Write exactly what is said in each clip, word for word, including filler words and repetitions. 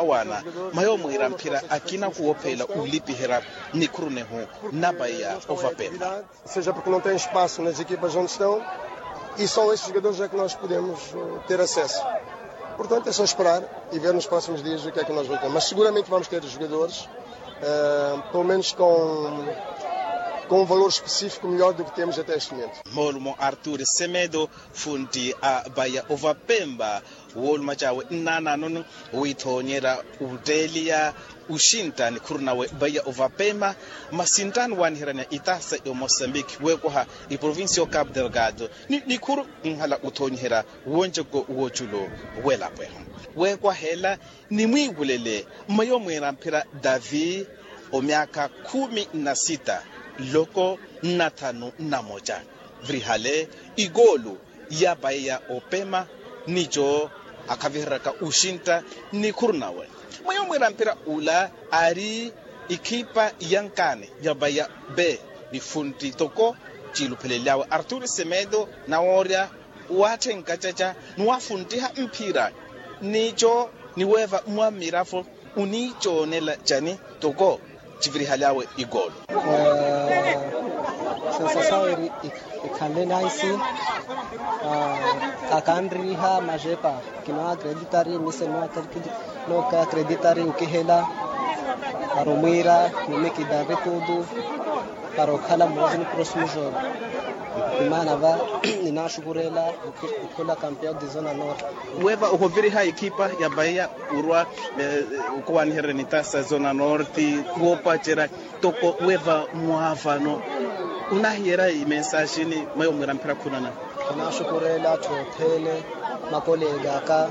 Awaana mayo mwiira mphira akina kuwophelela olipiherya nikhuru nehu na paiya ovapempa. Seja porke não tem espaço nas equipas onde estão e só esses jogadores é que nós podemos ter acesso. Portanto é só esperar e ver nos próximos dias o que é que nós vamos ter, mas seguramente vamos ter jogadores pelo menos com um valor específico melhor do que temos até este momento. Moolumo artur semedo funti a paiya ovapempa woolumacawe nnananoni wiithoonyerya otteeliya oxintta nikhuru nawe paiya ovapema. Masinttaano waaniheryaniya itaasa ya omosambiki weekwaha iprovincia ya ocapu delgado ni nikhuru nhala othoonyiherya wonceko wooculu w'elapo ehu weekwaha ela. Nimwiiwulele mmayo mwiira mphira davi omyaakha khumi na sita loko nnathanu nnamoca virihale ikoolu ya paiya opema nico akhaviheryaka oxintta nikhuru nawe. Mwayo mwiira mphira ula ari ikhipa ya nkaani ya paiya pe ni funtti toko ciiluphelelyawe artur semedo nawoorya waatthenka caca ni waafunttiha mphira nico ni weeva mwa mmiravo oniicoonela cani toko civirihaly'awe ikoolo. Sensasawo eri ikhanle naisi akanriha majepa kinoakreditari mise noakreditari okihela para omwiira mimi kidanri tutu para okhala mmoja ni prosmu jogo. Imaana va ninaaxukureela okhula kampeon de zona norte. Weeva ohoviriha ekhipa ya paiya orwa okowaanihererya nitaasa zona norte woopacerya toko weeva mwaavano onahiyerya imensaxini mweyo mwiira mphira khunana. Kinaaxukureela atthu othene makoleek'aka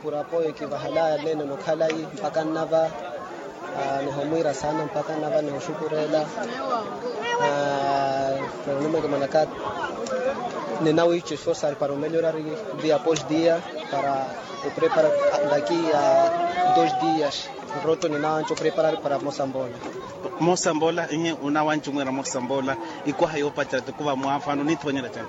purapoyo kivahalaya nene nokhalayi mpakha nnava. Nihomwiira saana mpakha nnava nihooxukureela. Pero nimekemanaka ninawiica esforsari para omelhorari dia após dia para opreparar daki a dos dias. Nroto ninawanca opreparar para mosambola. Mosambola ihi onawanca omwiira mosambola ikwaha yoopacerya toko vamwaafano onithoonyerya cani?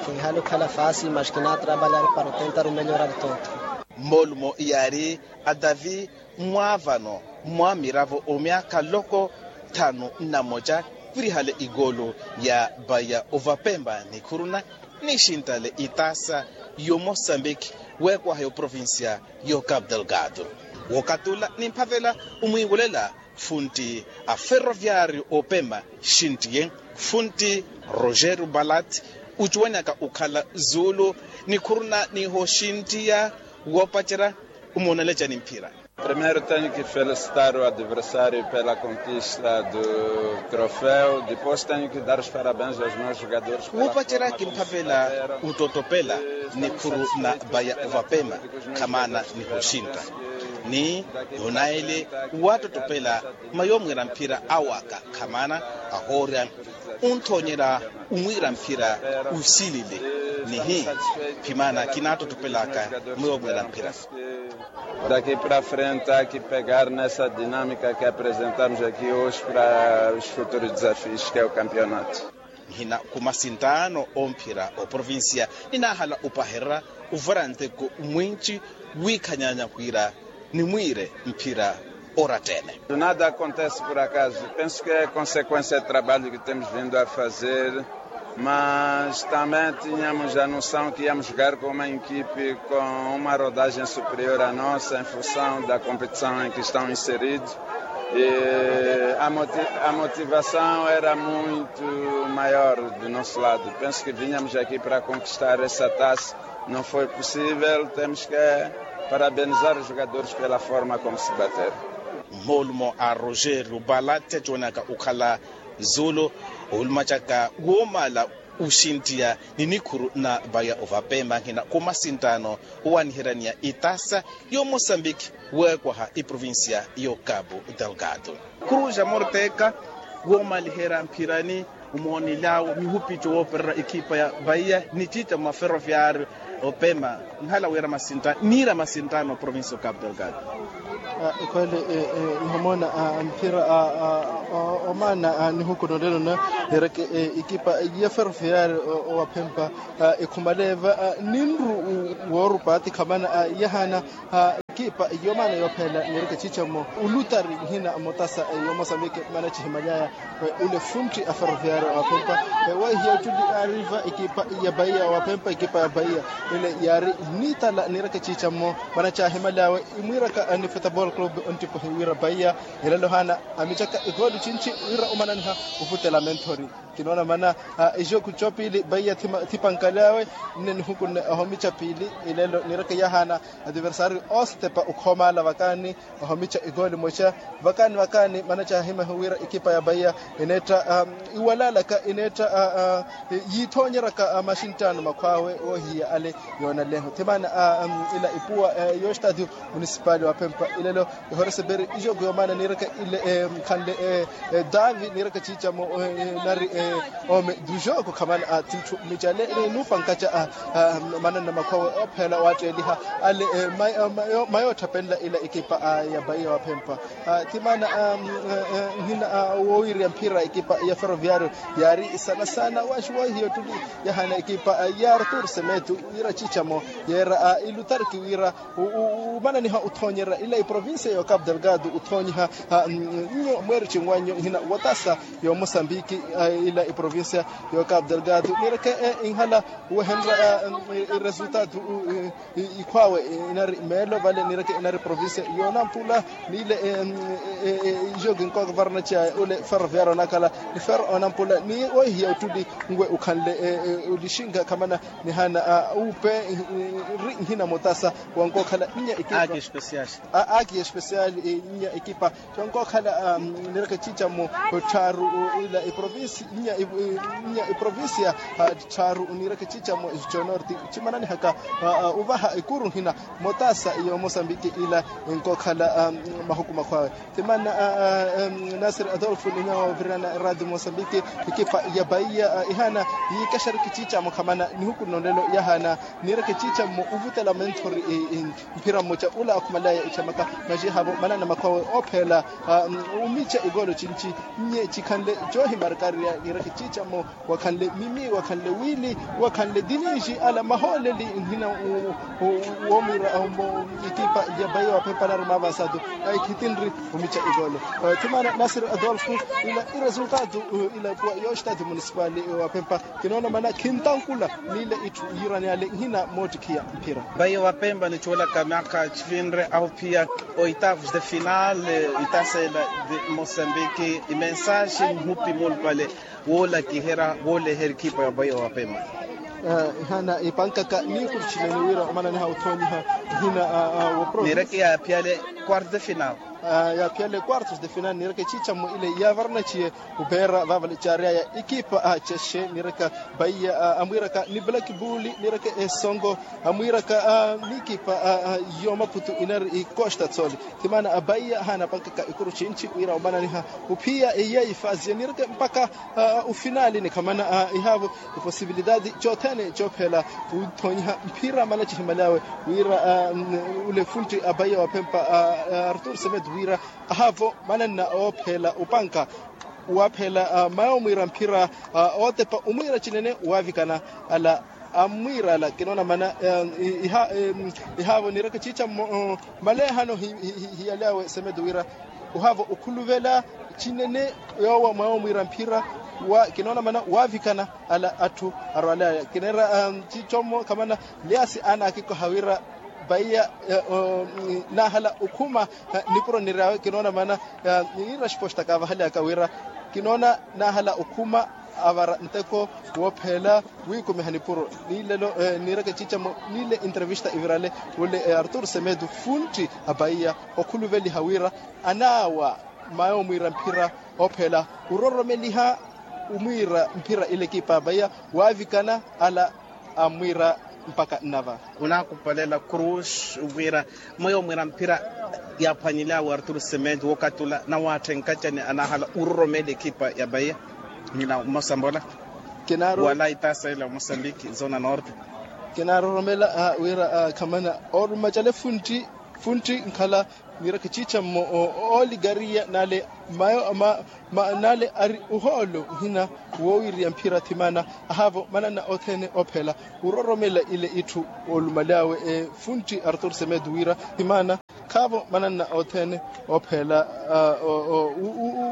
Kinhala okhala fasi mas kinatrabalhari para otentar omelhorari toto. Mmoolumo yaari a davi mwaavano mwa miravo omyaakha loko thanu nnamoca virihale ikoolo ya paiya ovapempa nikhuruna nixinttale itaasa y'omosambiki weekwaha y'oprovincia y'ocapu delgado. Wookatula nimphavela omwiiwolela funtti a ferroviario opema xinttiye funtti rogerio balat ocuwanyaka okhala zuulu nikhuruna nihoxinttiya woopacerya omoonelacani mphira. Primeiro tenho que felicitar o adversário pela conquista do troféu, depois tenho que dar os parabéns aos meus jogadores pela woopacerya kimphavela otottopela nikhuru na vaya ovapema khamaana nihoxintta ni onaele waatottopela mayo mwiira mphira awaka khamaana ahoorya onthoonyerya omwiira mphira osilile nihi khimaana kinaattottopelaka mayo mwiira mphira. Daqui para frente há que pegar nessa dinâmica que apresentamos aqui hoje para os futuros desafios que é o campeonato. Nhina khumasinttaano omphira oprovincia ninaahala opahererya ovara nteko mwinci wiikhanyanya wira nimwiire mphira oratta-ene. Nada acontece por acaso, penso que é consequência de trabalho que temos vindo a fazer. Mas também tínhamos a noção que íamos jogar com uma equipe com uma rodagem superior à nossa em função da competição em que estão inseridos. E a motivação era muito maior do nosso lado. Penso que vínhamos aqui para conquistar essa taça. Não foi possível, temos que parabenizar os jogadores pela forma como se bateram. Mmoolumo a rogerio balate aciwanaka okhala zuulu oulumacaka woomala oxinttiya ni nikhuru na vaya ovapema nhina khumasinttaano owaaniheryaniya itaasa y'omosambiki weekwaha eprovincia y'ocapu delgado. Khuruja morteka woomaliherya mphirani omoonelyawe mihupico woopererya ekhipa ya vaiya ni cica mwa ferroviario opema nhala wira masinttaano niira masinttaano provincia ocapu delgado. Ekhwele nihomoona mphira omaana nihuku nolelo na ereke ekipa ya ferroviario owaphempa ekhumale eva ninru woorupa ati khamana yahaana Ekipa yomaana yoophela niireke ciicamo ulutari nhina motasa, yoomosambiki mana cihimalyaya ule funtti a ferroviario wa pempa. Weihiya ottuli yaariva ekipa ya paiya wa pempa ekipa ya paiya ile yaari niitala niireke ciicamo mana caahimalyaawe imwiiraka ni football club onttipwehi wira paiya. Elelo haana amicaka egooli cinci wira omananiha ovutela menthori. Kinoona mana ejoku copiili paiya thipankalyaawe nne nihukunne ohomica piili. Elelo niireke yahaana adiversario oostepa okhoomaala vakaani ohomica egooli moca. Vakaani vakaani mana caahimahiwe wira ekipa ya paiya eneetta iwalaalaka eneetta yiithoonyeraka maxinttaano makhwaawe woohiya ale. Yoonaleho thimaana ila ipuwa y'ostadio munisipali wa pempa ilelo ehoreseperi ijoku yomaana niireke ile khanle davi niireke ciicamo nari ome dujoku khamana a titthu micale nuupankaca a mananna makhwawe ophela waatteeliha ale mayo otthapenla ila ekipa ya paiya wa pempa. Thimaana nhina woowiriya mphira ekipa ya ferroviario yaari sana sana waaxi wohiya ottuli yahaana ekipa ya artur semetu wira ciicamo yeera ilutarki wira umananiha uthoonyerya ila iprovincia ya cabo delgado uthoonyiha. Nyo mweeri cinwanyu nhina wotasa yoomosambiki ila iprovincia ya cabo delgado niireke inhala wehenrya resultado ikhwaawe inari meelo vale niireke inari provincia yoonampula niile ijo kinkooka varnaci aye ule ferroviario onakhala ni ferro onampula ni weihiya ottuli ngwe ukhanle ulixinka khamana nihaana uupe ri nhina motasa wankookhala nnya ekipa aki especial nnya ekipa. Xonkookhala niireke ciicamo tthaaru ila iprovincia nnya iprovincia tthaaru niireke ciicamo conorti cimananihaka ovaha ekuru nhina motasa yoomosambiki ila enkookhala mahuku makhwaawe. Thimaana nasir adolfo ninya woovirana eradio mosambiki ekipa ya paiya ihaana yiikaxeriki ciicamo khamana nihuku nno nlelo yahaana niireke ciicamo ovutela menthori mphira mmoca ula akhumalaya etthemaka maxihavo manana makhwawe oophela omica egoolo cinci nyi cikhanle coohimarkariya niireke ciicamo wakhanle mimi wakhanle wiili wakhanle diniji ala mahooleli nhina woomwiira ekipa ya paiya wa pempa nari maavansado aikhitinri omica egoolo. Thimaana nasir adolfo ila iresultado ila kuwa yo stadio munisipali wa pempa kinoona mana khintankula niile itthu yiirani ale nhina moottikhiya mphira. Paiya wa pempa nicoolaka myaakha cifinre aho phiya oitavos de final itasela de mosambiki imensaxi nhupi mulupale woolakiherya wooleherya ekhipa ya paiya wa pempa. Ihana ipankaka niikuru cinene wira omananiha othoonyiha nhina wopro niireke yaaphiyale quarto de final. Yaaphiyale quartos de final niireke ciicamo ile yaavaranaciye opeera vaavale caaryaya ekipa cexe niireka paiya amwiiraka ni black bull niireke esongo amwiiraka n'ikipa yoomaputu inari ikosta tsoli. Thimaana paiya haanapankaka ikuru cinci wira omananiha ophiya eyi ya ifazi eniireke mpaka ofinali ni khamana ihaavo eposibilidadi cothene coophela othoonyiha mphira mana cihimalyawe wira ule funtti apaiya wa pempa artur semed wira ahaavo mananna oophela opanka waaphela mayo omwiira mphira ootepa omwiira cinene waavikana ala amwiira ala kinoona mana ihaavo niireke ciicammo maleehano hiyalyawe semed wira ohaavo okhuluvela cinene yoowa mwawo mwiira mphira wa kinoona mana waavikana ala atthu arwalaya kineera ciicommo khamana lyaasi anaakikoha wira vaiya naahala okhuma nipuro niryawe kinoona mana niira xipostaka avahalyaka wira kinoona naahala okhuma avara nteko woophela wiikumiha nipuro niilelo niireke ciicamo niile entrevista ivirale wule artur semedu funtti apaiya okhuluveliha wira anaawa mayo omwiira mphira oophela ororomeliha omwiira mphira ile ekipa apaiya waavikana ala amwiira mpaka nnava. Onaakupalela cruz wira mweyo omwiira mphira yaaphwanyelyawe artur semedu wookatula nawaatthenkaca ni anaahala ororomela ekipa ya paiya nina omosambola wala itaasa ila omosambiki zona norte. Kinaaroromela wira khamana ooruma cale funtti funtti nkhala niireke ciicammo ooligaria nale mayo nale ari ohoolo nhina woowiriya mphira thimana ahaavo manana othene oophela ororomela ile itthu oolumaly'awe funtti artur semed wira thimana Khaavo mananna othene oopheela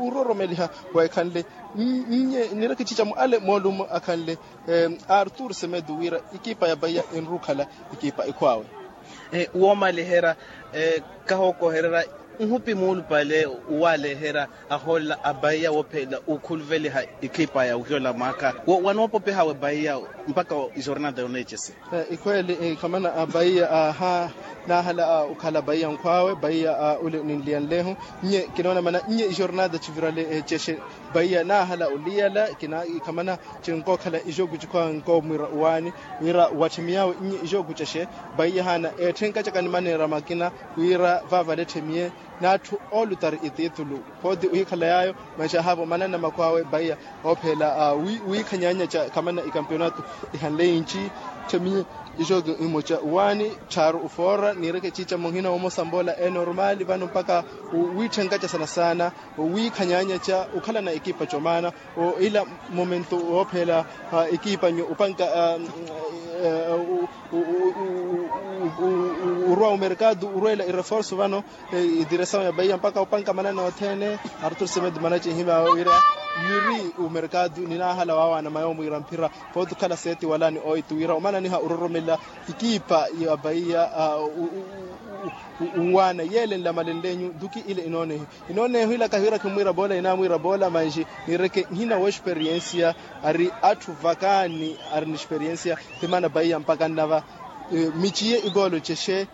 ororomeliha weekhanle. Nnye nireke ecica-mo ale moolumo akhanle artur semedu wira ekipa ya bahiya enrukhala ekipa ekhwaawe. Woomaliherya kahookohererya nhupi muulupale waaleherya ahoolela a bahiya woophelela okhuluveliha ekipa ya ohiyola mwaakha. Wanoopopehawe bahiya mpakha ijornada yoneecese. Ikhweeli khamana a bahiya aha naahala okhala bahiya nkhwaawe bahiya ule ninliyanlehu. Nnye kinoona mana nnye ijornada civirale cexe bahiya naahala oliyala khamana cinkookhala ijooku cikhwaawe nkoomwiira owaani wira watthemiy'awe nnye ijooku cexe. Bahiya haana etthenka caka nimaneera makina wira vaavale etthemiye n'atthu oolutari etitulu. Pooti ohikhala yaayo manxi ahaavo mananna makhwaawe bahiya oopheela wiikhanyaanya ca khamana ikampionato ihanle inci. Tthemiye ixooki imoca owaani tthaaru ofoora niireke ciica muhina womosa mboola enormaali vano mpakha wiitthenkaca sana saana wiikhanyaanya ca okhalana ekipa comaana. Ila momento woopheela ekipa nyo opanka orwa omerkado orweela ireforso vano idiresawu ya bahiya mpakha opanka mananna othene. Artur semedo manaci ehimy'awe wira yiri omerkado ninaahala waawaana mayoomwiira mphira pooti okhala seeti wala ni oitu wira omananiha ororomela ekipa ya bahiya owaana yeele nlamalenle nyu duki ile inoonehi. Inoonehi ila kahiwira khimwiira boola inaamwiira boola manxi niireke nhina w'experiensia ari atthu vakaani ari ni experiensia. Ti maana bahiya mpakha nnava miciye ikoolo cexe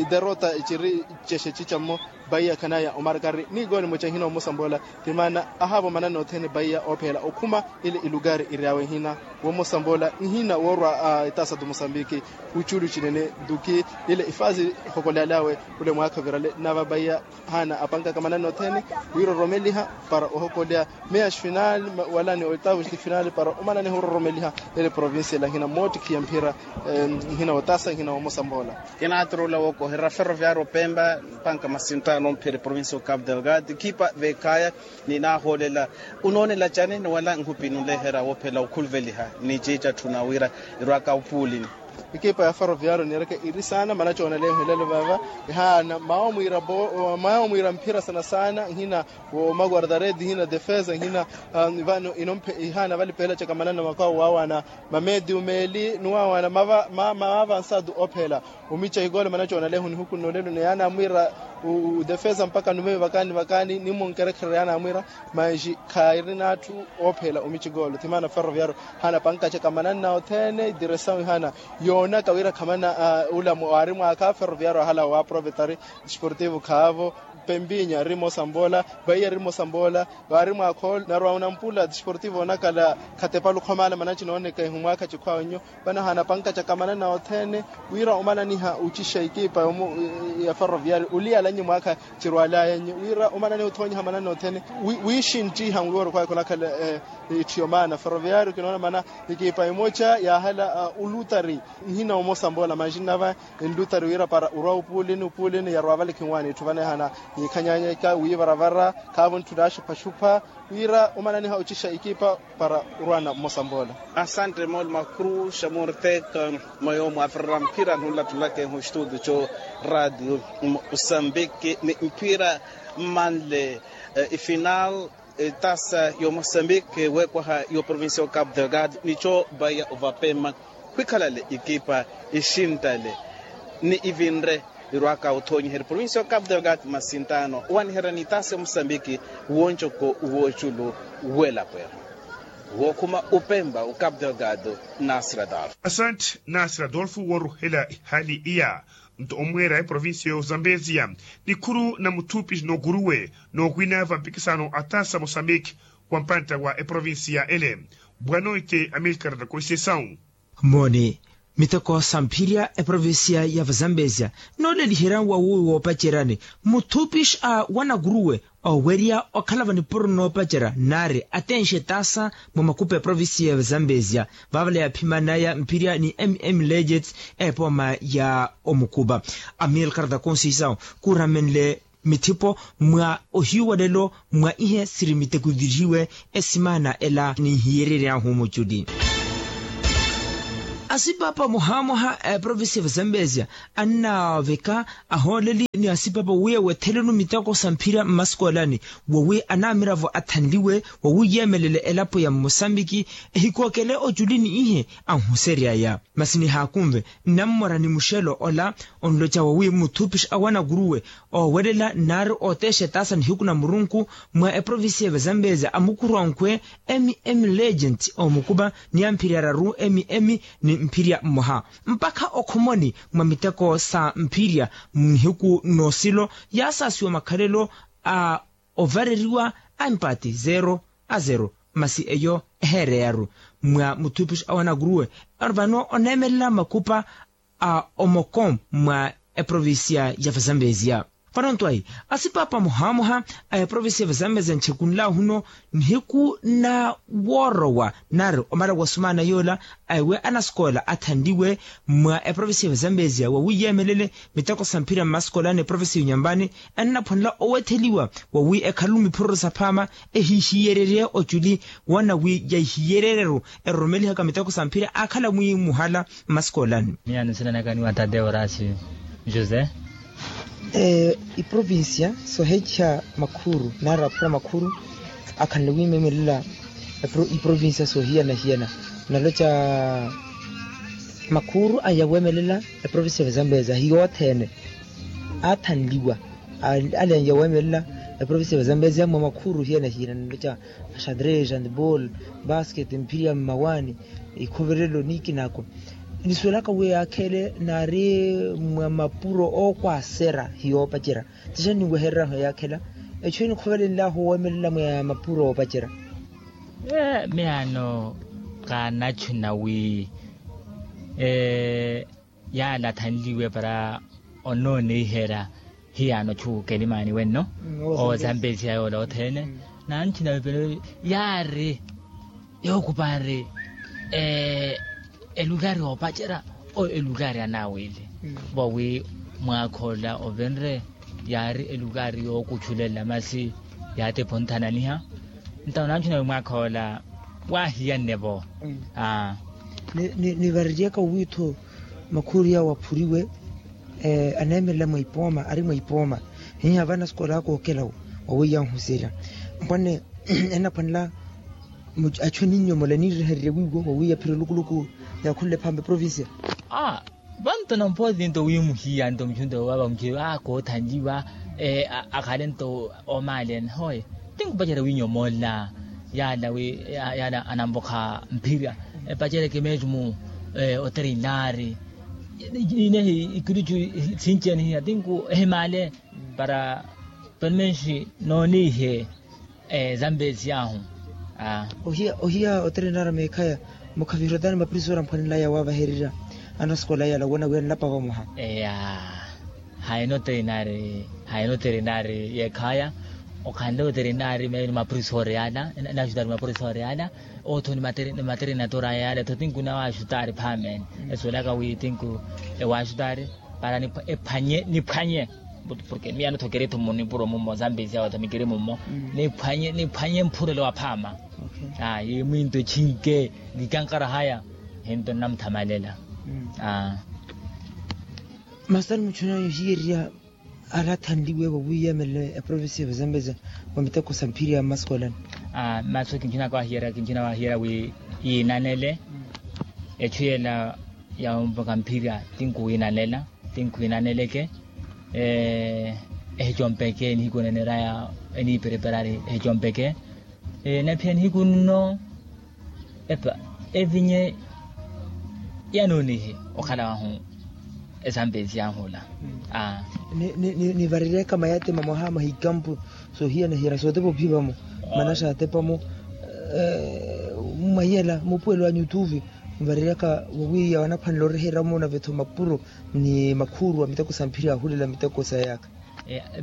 iderota ciri cexe cicammo. Bahiya khanaya omarkari ni ikoolo emoca nhina womosa mboola ti maana ahaavo mananna othene bahiya oopheela okhuma ile ilukari iry'awe nhina womosa mboola nhina woorwa etaasa tu mosambiki. Wuculu cinene duki ile ifaasi hokoly'al'awe ule mwaakha ovirale nnava bahiya haana apankaka mananna othene wiiroromeliha para ohokolya meya xfinal wala ni oitavo xfinal para omananeha ororomeliha ele provincia ela nhina mootikhiya mphira. Nhina wotasa nhina womosa mboola. Kinaatorola wookoherya ferroviario pemba mpanka masintaano mphira provincia o capu delgado ekipa veekhaya ninaahoolela. Unoonela cani ni wala nhupi nunleherya woophela okhuluveliha ni ciica tthuna wira irwaka opuulini. Ekipa ya ferroviario niireke iri saana mana cooneleehu ilelo vaava ihaana mawoomwiira mphira sana saana nhina wo maguardaredi nhina defesa nhina vano inomphe ihaana vali peela caka mananna makwawo waawaana mamedio meeli ni waawaana mavaavansa tu oopheela omica ikoolo mana cooneleehu nihuku nnoolelo ni yaana amwiira defesa mpakha numeyo vakaani vakaani ni munkerekhererya yaana amwiira. Manxi khairina atthu oopheela omica ikoolo ti maana ferroviario haana pankacaka mananna othene idiresawu ihaana yoonaka wira khamana ula waari mwaakha ferroviario ahala waaprovetari disportivo khaavo pempinya eri mosa mboola. Bahiya eri mosa mboola waari mwaakha ola narwa onampula disportivo onakala khatepa lukhomaala mana cinooneka ihu mwaakha cikhwaawe nnyo. Vano haana pankacaka mananna othene wira omananiha ocixa ekipa ya ferroviario oliyalannye mwaakha cirwalaya nnyo wira omananiha othoonyiha mananna othene wiixinttiha wiiworo khwaawe khunakhala. Itthiyo maana ferroviario kinoona mana ekipa emoca yaahala olutari nhina omosa mboola manxi nnava enlutari wira para orwa opuulini opuulini yarwa vale khinwaani itthu vano ehana yiikhanyaanyaka wiivaravara khaavo ntthu naaxuphaxupha wira omananiha ocixa ekipa para orwana mmosa mboola. Asante mooli makuru xamurteka mwa yoomo aferera mphira nunlattulaka ehu estudio co radio mosambiki ni mphira mmanle ifinal etasa yo mosambiki weekwaha yo provincia o capu delgado nico bahiya ovapema khwikhalale ekipa ixintale ni ivinre irwaka othoonyiherya provincia o capu delgado masintaano owaniherya ni etasa yo mosambiki woncoko wooculu weelapweya wookhuma opemba o capu delgado. Nasira adolfo. Asante nasira adolfo wooruhela ehali iya. Nto omweera eprovincia y'ozambesia nikhuru na muthupi n'okuruwe n'okwina vampikisano atasa mosambique wa mpantta wa eprovincia ele. Bwanoite amilkar na conceição. Mooni miteko sa mphirya eprovincia ya vazambesia nooleliherya wawuwi woopaceryani muthupi a wanakuruwe owerya okhala va nipuro noopacerya nari atenxe taasa mwa makupa eprovincia ya vazambesia. Vaavale yaaphimanaya mphirya ni mm legets epooma ya omukupa amilkar da conceição kuuramenle mithipo mwa ohiyu walelo mwa ihe siri mitekuvirihiwe esimaana ela ninhiyereryahu muculi. Asipaapa muhaamwaha a eprovincia ya vazambezia annaaveka ahooleli ni asipaapa wi ewethelenu miteko sa mphira mmasikoolani, wowi anaamiravo athanliwe wowi yeemelele elapo ya mmosambiki ehikookele oculi ni ihe anhuseryaya. Masi nihaakunve nnammora ni muxelo ola onloca wowi muthupixa awanakuruwe oowelela nnaari ooteexa etaasa nihiku na murunku mwa eprovincia ya vazambezia amukuruwa nkhwe, mm legent omukupa ni amphiri araru mm ni mphirya mmoha mpakha okhomoni mwa miteko sa mphirya. Nihiku n'osilo yaasaasiwa makhalelo a ovareriwa a empati zero a zero. Masi eyo eheereyaru mwa muthupixa awanakuruwe vano oneemelela makupa a omoko mwa eprovincia ya vazambezia. Vano ntwayi asipaapa muhaamwaha a eprovincia ya vazambezia nchekunlahu no nihiku na woorowa nari omala wa sumaana yoola a ewe anasikoola athanliwe mwa eprovincia ya vazambezia wowi yeemelele miteko sa mphira mmasikoolani eprovincia ya unyambani annaphwanela owetheliwa wowi ekhalelu miphururu saphaama ehihiyererye oculi woona wi yahihiyereryeru eroromelihaka miteko sa mphira aakhala mwi muhala mmasikoolani. Miyaano nsinanaka ni wa tate orasi jose. Iprovincia soheekiha makhuru nari aphura makhuru akhanle wiimemelela iprovincia sohiyana-hiyana naloca makhuru aya weemelela eprovincia ya vazambezia hiyo othene aathanliwa ale anya weemelela eprovincia ya vazambezia mwa makhuru hiyana-hiyana naloca axadrez handball basket mphiri ya mmawaani ikhoverelo ni ikinaako nisuwelaka wi akhele naari mwa mapuro ookwaasera hiyoopacerya. Tixa ninwehereryahu yaakhela echu enikhovelenlahu weemelela mwa mapuro oopacerya. Miyaano kaanachuna wi yaala athanliwe para onooneiherya hiyaano chuukelimaani wenno oozambesiya yoola othene. Nanchina vepelo yaari yookupaari elukari oopacerya o elukari anaawili vawi mwaakha ola ovenre yaari elukari yookuchulela masi yaatiphunthananiha. Ntawo nanchina wi mwaakha ola waahiyanne-vo. Nivareryaka owiitho makhuriya waphuriwe aneemelela mwa ipooma ari mwa ipooma hiiha vana sikolaaka okela waweiya nhuserya mpwanne enaphwanela achu aninyomola niirehererye wiiwo waweiya phiri olukuluku yaakhulela ephampa eprovincia. Vanto nampooti nto wiimuhiya nto muchunto wavamuchiwe vakoothanliwa akhale nto omaaleene hoye tinkupacerya wiinyomola yaala wi yaala anamvokha mphirya epacerya kimeecumu otereinaari inehi ikiricu sinci anihiya tinku ehimaale para pelo menshi nooniihe zambezi ahu. Ohiya otereinaari meekhaya mukhaviherotani maprisoori amphwanelaya waavahererya anasikola yala wona wi anlapa vamoha. Eya hayina otereinaari hayina otereinaari yeekhaya okhanle otereinaari meyo ni maprisoori yala. Enaaxutari maprisoori yala otho ni materinatori aya yala etho tinkunawa axutari phaamene esuwelaka wi tinku ewaaxutari para niphwanye niphwanye porke miya notho kiri-tho munipuro mummo zambezi awo tho mikiri mummo niphwanye niphwanye mphurelo wa phaama. Yi mwinto echinke nikankara haya hinto nnamuthamalelela. Masi tani muchuna yohiyererya alathanliwe wawiyemele eprovincia ya vazambeza wa miteko sa mphiri ya mmaskolani. Masu kinchina kwahiyerya kinchina wahiyerya wi yiinanele echu yela ya omvoka mphirya tinkuwiinalela tinkuwiinaneleke ehicompeke nihiku neneraya eniipereperari ehicompeke naphiya nihiku nno epa evinye yanoonihi okhala wahu esampesi yahula. Nivareryaka mayate mamoha mahikampu sohiyana-hiyana sootepa ophipamo mana saatepamo mwahiyala mupuwelo wa nyutuvi. Nivareryaka wawiya wanaphwanela oreherya omoona vetho mapuro ni makhuru a miteko sa mphiri ahulela miteko sa yaaka.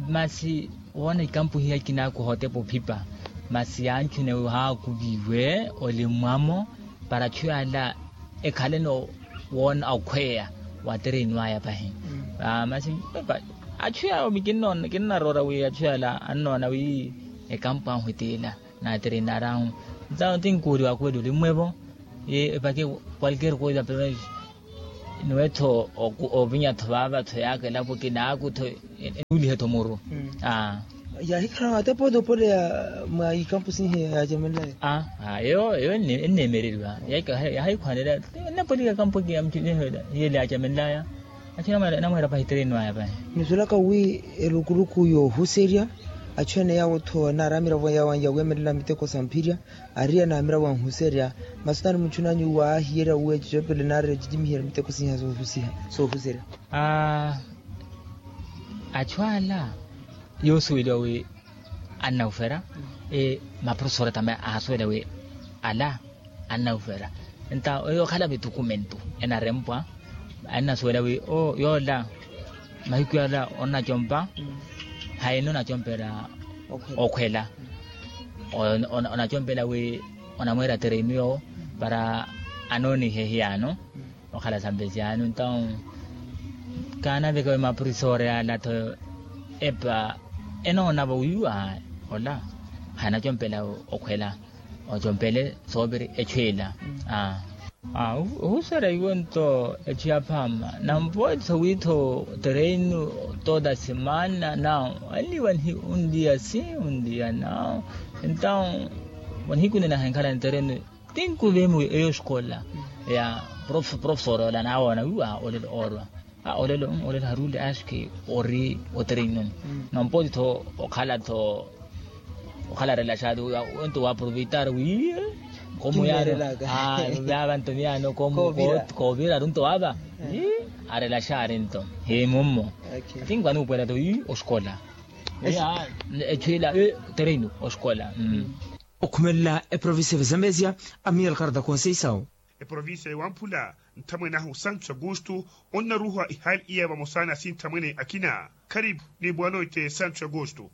Masi woona ikampuhiya ikinaku hootepa ophipa masi yanchuna wi haakuviwe olimmwamo para achu yala ekhaleno woona okhweya wa terenu aya pahi. Masi achu yala kinnaroora wi achu yala annoona wi ekampu ahu etiila na terenu arahu ntawo tinkuuli wakuwela olimmwevo. Epake kwalker koisa pemesi Niwe-tho ovinya-tho vaava-tho yaaka elapo kinaaku-tho. Enuulihe-tho muru. Aa. Yahikhala mate pooti opoleya mwa ikampusi nihiya yaacamenlaya. Aa eyo eyo enneemereriwa. Yahikhwanela. Ennapolika kampuki ya mutuniho ela hiyele yaacamenlaya. Achu enamweera pahi terenu aya pahi. Nisulaka wi elukuluku yoohuserya achu ene yaawo-tho naari amiravo yaawo anyawemelela miteko sa mphirya. Ariya naamira wanhuserya. Masi taani muchunanyu waahiyerya wi ecicoopele naari ecicimihiyerya miteko siiha soohuserya. Achu ala yoosuweliwa wi annawufera. Maprofesora tame aasuwela wi ala annawufera. Nta eyo okhala mitukumentu enarempwa. Annasuwela wi yoola mahiku yala onacompa hayi nonacompela okhwela. Onacompela wi onamweera terenu yowo para anoonihe hiyaano. Okhala sampesi yaano ntawu kaanaveka wi mapurisore yala-tho epa enoonavo wiiwa ola hanacompela okhwela. Ocompele sooviri echu ila. Ohuserya iwo nto echu yaphaama nampoitho witho terenu toda semana nawo ali wanhi undiya si undiya nawo. Entawo wanihikunena henkhala ni terenu tinkuve mu eyo escola ya profesor ola nawoona wiwa olelo orwa. Olelo olelo haruli aski ori otereinoni. Nampoitho okhala tho okhala relaxado. Onto waprovitar wi komu yaro. Vava nto miyano komu kovira runto vava. Arelaxari nto himummo. Atinkwani upwela tho wi oskola echwila tereino oskola. Okhumelela eprovincia vazambezia amiel karda conceição. Eprovincia ya wamphula nthamwene ahu santo augusto onnaruha ihali iya vamosa na sinthamwene akina. Karipu ni boa noite santo augusto.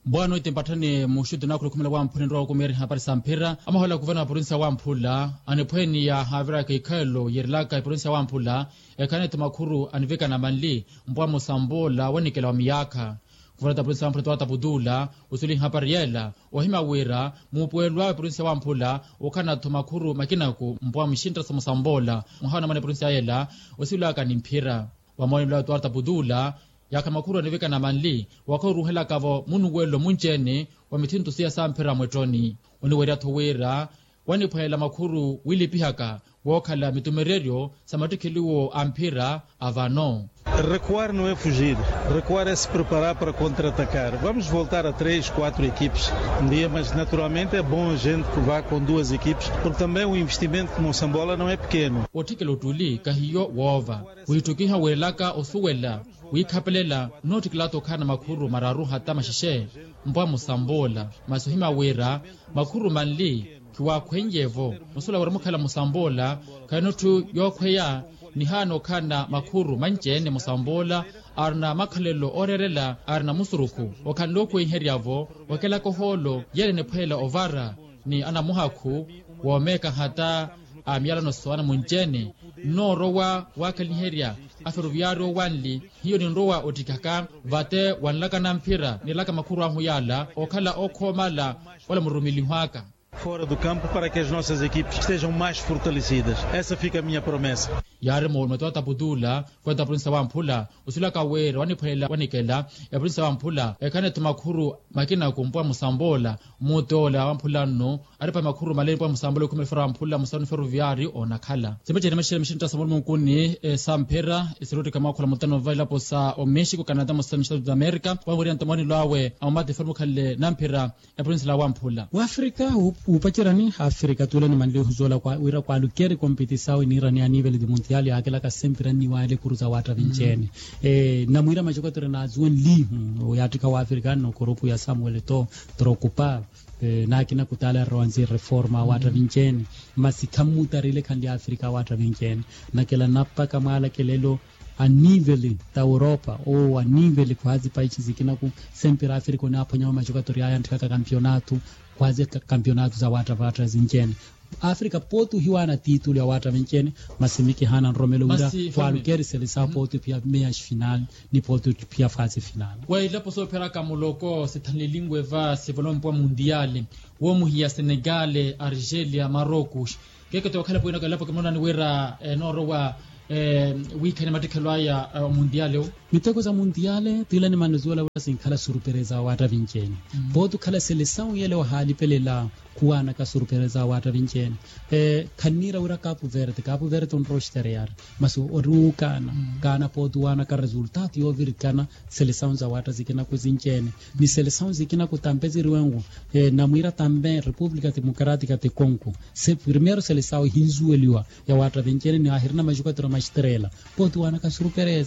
Boa noite mpatthani muxutu nakhula okhumela wamphula enrowa okumiyari hapari sa mphira amahola kuvana wa provincia wamphula aniphweniya haviraka ikhalelo yerelaka eprovincia wamphula. Ekhanetho makhuru anivekana manli mpwa musambula wanikela wa miyaakha. Kuvanata provincia wamphula towata putula osuli hapari yela ohima wira muupuwelo awe provincia wamphula okhanatho makhuru makinaku mpwa muxintta sa musambula mwaha onamana provincia yela. Osilaka ni mphira wamoonelo awe towata putula. Yaakha makhuru anivikana manli wakha oruhelaka-vo munuwelo munci-ene wa mithinto siya samphira mwettoni. Oniwerya-tho wira waniphwelela makhuru wilipihaka wookhala mitumereryo sa mattikheliwo a mphira a vano. Recuar no e fujir. Recuar e se preparar para contra-atacar vamos voltar a três quatro equipes. Ndiye mas naturalmente e bom gente que vá com duas equipes porque também o investimento ku mosambola no e pekeno. Otthikela ottuli kahiyo woova wiitthukiha wiirelaka osuwela wiikhapelela nnootthikela-tho okhala na makhuru mararu hata maxexe. Mpwa musambula masi ohima wira makhuru manli khiwaakhwenyevo. Musuwela wira mukhala musambula khayinotthu yookhweya nihaana okhala na makhuru manci-ene musambula arina makhalelo ooreerela arina musurukhu okhanle okhwenherya-vo okelaka ohoolo yela eniphwelela ovara ni anamuhakhu woomeeka hata a miyalano sowana munci-ene. Nnoorowa waakhalaniherya aferoviyaari owanli hiyo ninrowa ottikhaka vate wanlaka na mphira nilaka makhuru ahu yaala okhala okhoomala. Wala murumiliho aka fora do campo para que as nossas equipes estejam mais fortalecidas. Essa fica a minha promessa. Yaari moolume towata putula kwenta provincia wamphula osilaka wira waniphwelela wanikela eprovincia wamphula ekhanetho makhuru makinaku mpwa musambula. Muti ola wamphula nnu aripa makhuru maleeni mpwa musambula okhumela fera wamphula musanu feroviyaari onakhala. Simba ceene maxixela mixintta sa mulumu nkuni samphira. Esiruttika mwakhula mutano va ilapo sa omexico canada musanu mixitatu za america wamwirina nto mwanelo awe amamati fera mukhalele namphira. Eprovincia la wamphula wafrika wuupacerani hafrika tuulani manlihu zoola wira kwalukeri kompetisawe niirani a nivele de muntial yaakelaka sempira nniwaayela ekuru za waatta vinci-ene. Namwiira macokotero naazuwenlihu yaattikha wafrika nno kurupu ya samuel to trokupa naakina kutaala errowa nzi reforma waatta vinci-ene. Masi khammutarile khanli afrika waatta vinci-ene nakela napaka mwaalakelelo a nivele ta europa ou a nivele khwaazi paici zikinaku. Sempira afrika onaaphwanyawe macokatori aya antthikaka kampionato khwaazi kampionato za wattavatta zinci-ene. Afrika pooti ohiwaana titulu ya watta vinci-ene. Masi mikihaana nromelo wira khwaalukerisele sa pooti ophiya meyaxi final ni pooti ophiya fasi final. Wa ilapo soophiyaraka muloko sithanlilinwe va sivolompwa mundiale woomuhiya senegale argelia marocos. Keekete wakhalapo inaka ilapo kimonani wira enoorowa Wiikhani mattekhelo aya omundiyaale wo. Miteko za mundiyaale tiila nimanne zuwela wira sinkhala surupereza wa waatta vinci-ene. Pooti okhala selesawu yele ohalipelela khuwaanaka surupereza wa waatta vinci-ene. Khanniira wira kapu verte kapu verte onrowa oxtereyari masi ori wuukaana kaana pooti waanaka resultaatu yoovirikana. Selesawu za waatta zikinaku zinci-ene ni selesawu zikinaku tampe ziriwenwu. Namwiira tampe repupulika timokaratika tikonku se primeiro selesawu ehinzuweliwa ya waatta vinci-ene ni ahirina majukatiro maxterela. Pooti waanaka surupereza